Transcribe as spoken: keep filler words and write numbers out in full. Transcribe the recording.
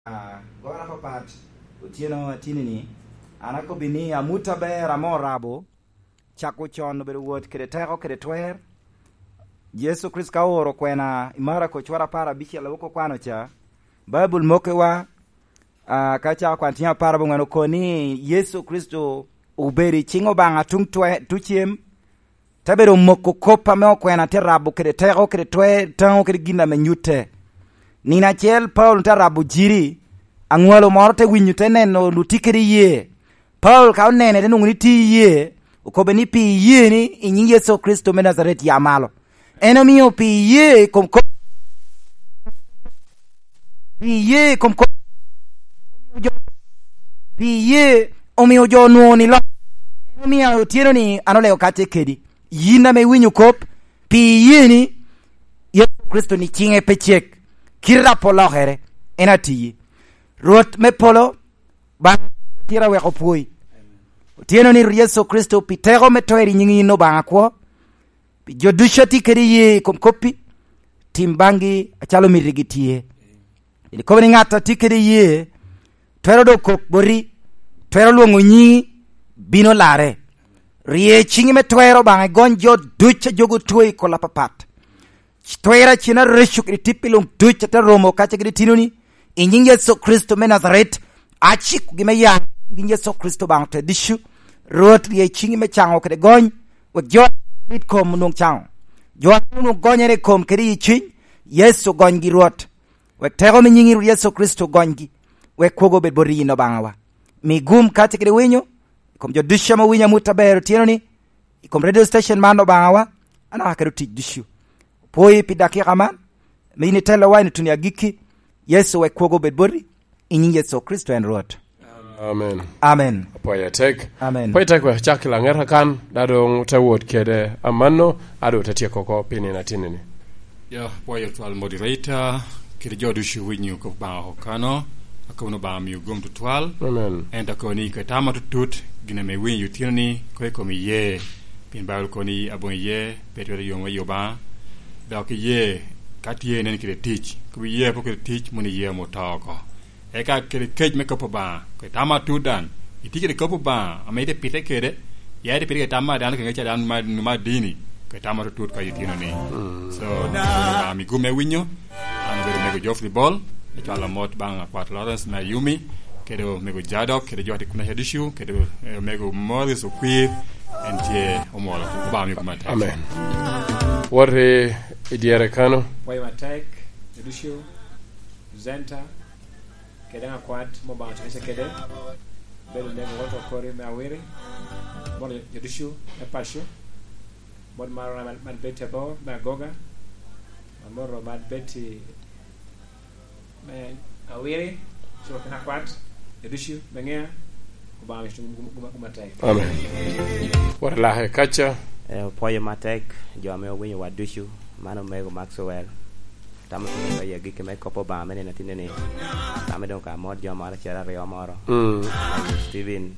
Ah, goro apapat, otyeno atini-ni, an akobbi ni amut aber ame orabo, cako con obedo wot kede teko kede twer. Yecu Kricito ka ooro kwena i Marako cwara apar abicel a wok okwano ca, Baibul mokkewa, ah, ka cako kwan tyen apar aboŋwen okobo ni Yecu Kricito obedo i ciŋ Obaŋa tuŋ twe-, tucem, te bedo omoko kop ame okwena te rabo kede teko, kede twer, taŋo, kede gin ame nyutte. Nino acel, Paulo te rabo jiri, aŋwalo moro te winyo, te neno luti kede iyee. Paulo ka onene, te nwoŋo ni tye iyee, okobbe ni, "Pi iyee ni i nyiŋ Yecu Kricito me Najaret, ya malo." En omio pi iyee i kom kop, pi iyee i kom kop, pi iyee omio jo onwoŋo ni lok. En omio otyeno-ni an olego kacce kedi. Yin ame iwinyo kop, pi iyee ni Yecu Kricito ni ciŋe pe cek, kite a pol okere, en atiyi. Rwot me polo, ba tira wek opwoi. Otyeno ni Yecu Kricito pi teko me twer i nyiŋ yin Obaŋa kwo, pi jo ducu a tye kede iyee i kom koppi, tim baŋgi acalo mitigi tye. Pien ikobo ni ŋat a tye kede iyee twero dok kok boti, twero lwoŋo nyiŋi, bino larre. Rye ciŋi me twer Obaŋa igony jo ducu a jogo otwo i kol apapat. Twer acen areco kede tippi luŋ ducu a te romo kacce kede tinoni, i nyiŋ Yecu Kricito me Najaret, acikogi me ya i nyiŋ Yecu Kricito Obaŋa ote ducu. Rwot, rye ciŋi me caŋo kede gony, wek jo a mit kom onwoŋ caŋo, jo a onwoŋo gonyere i kom kede i cuny. Yecu, gonygi Rwot, wek teko me nyiŋi Rwot Yecu Kricito gonygi, wek kwogo obed bot yin Obaŋawa. Mi gum kacce kede winyo i kom jo ducu ame owinyo amut aber otyeno-ni, i kom radio station man Obaŋawa, anaka kede otic ducu. Opwoyi pi dakika man, ame yin itelowa i nutuni agikki. Yecu, wek kwogo obed boti, i nyiŋ Yecu Kricito en Rwot. Amen. Amen. Apwoyo atek. Amen. Apwoyo atek, wek acak i laŋet kakan, da doŋ te wot kede amanno, a doŋ te tyeko oko pi nino atinni-ni. Ya, apwoyo twal moderator, kede jo ducu winyo kop Obaŋa okano, akobo ni Obaŋa miyo gum tutwal. Amen. Ento akobo ni kede tam atutut, gin ame iwinyo otyeno-ni, koŋ ikom iye, pien Baibul kobo ni aboŋo iye pe twero yom i Obaŋa, dok iye ka tye nen kede tic, kobo iye pe kede tic, mono iye ame oto oko. Eka kede kec me kop Obaŋa, kede tam atut daŋ, itye kede kop Obaŋa ame ite pite kede, ya ite pite kede tam me dano, kede ŋec a dano ma, ma dini, kede tam atutut ka itino ni. Mm. So, Obaŋa mi gum me winyo, an obedo Omego Geoffrey Bol, me cwalo mot baŋ Akwat Lawrence me Ayumi, kede Omego Jadok, kede jo a tye kuno ducu, kede, eh, Omego Morris Okwir, en tye omwolo. Obaŋa mi gum atek. Amen. Wot i, i dyere kano. Pwoyo matek, ducu, presenter, kede daŋ Akwat ame Obaŋa ocwece kede, bedo Omego Walter Okori me Awiri, mono jo ducu me paco, mot maro man, man Betty Abor me Agoga, amoto man Betty me Awiri, co kede Akwat, jo ducu me Ŋea, Obaŋa mi gum, gum, gum, gum atek. Amen. Wot alake kaca. Eh, opwoyo matek jo ame owinyo wa ducu, man Omego Maxwell. Tamo tye ka yie agikki me kop Obaŋa me nino atinni-ni. Tamo doŋ ka mot jo moro acel aryo moro. Mm. Steven,